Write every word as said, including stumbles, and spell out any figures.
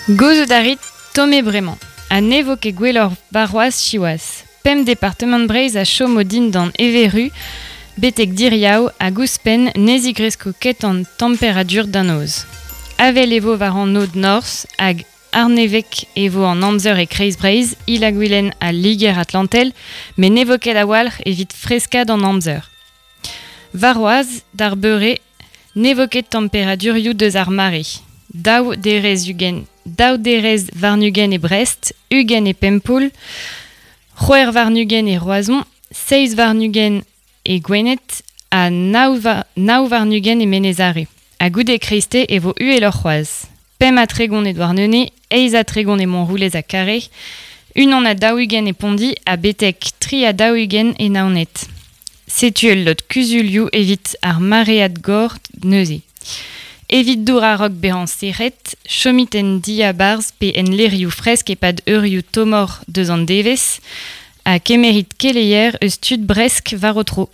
Gouzout a rit tomm eo bremañ, ha ne vo ket gwelloc'h warc'hoazh siwazh. Pemp departamant Breizh a chomo dindan evezh betek diriaou hag ouzhpenn ne zigresko ket an temperadur da noz. Avel e vo war an aod norzh hag arnevek e vo an amzer e kreiz Breizh, Il-ha-Gwilen ha Liger-Atlantel, met ne vo ket a-walc'h evit freskaat an amzer. Warc'hoazh, d'ar beure, ne vo ket temperadurioù deus ar mare. Daou derez ugent, daou derez warn-ugent e Brest, ugent e Pempoull, c'hwec'h warn-ugent e Roazhon, seizh warn-ugent e Gwened ha nav, nav warn-ugent e Menez-Are. Ha goude kreisteiz e vo uheloc'h c'hoazh. Pemp ha tregont e Douarnenez, eizh ha tregont e Montroulez ha Kare, unan ha daou-ugent e Pondi ha betek tri ha daou-ugent e Naoned. Setu ul lod kuzulioù evit ar maread gor neuze. Evit dour a-raok bezañ sec'het, chomit en diabarzh pe en lec'hioù fresk e-pad eurioù tommoc'h deus an devezh ha kemerit keleier eus tud bresk war ho tro.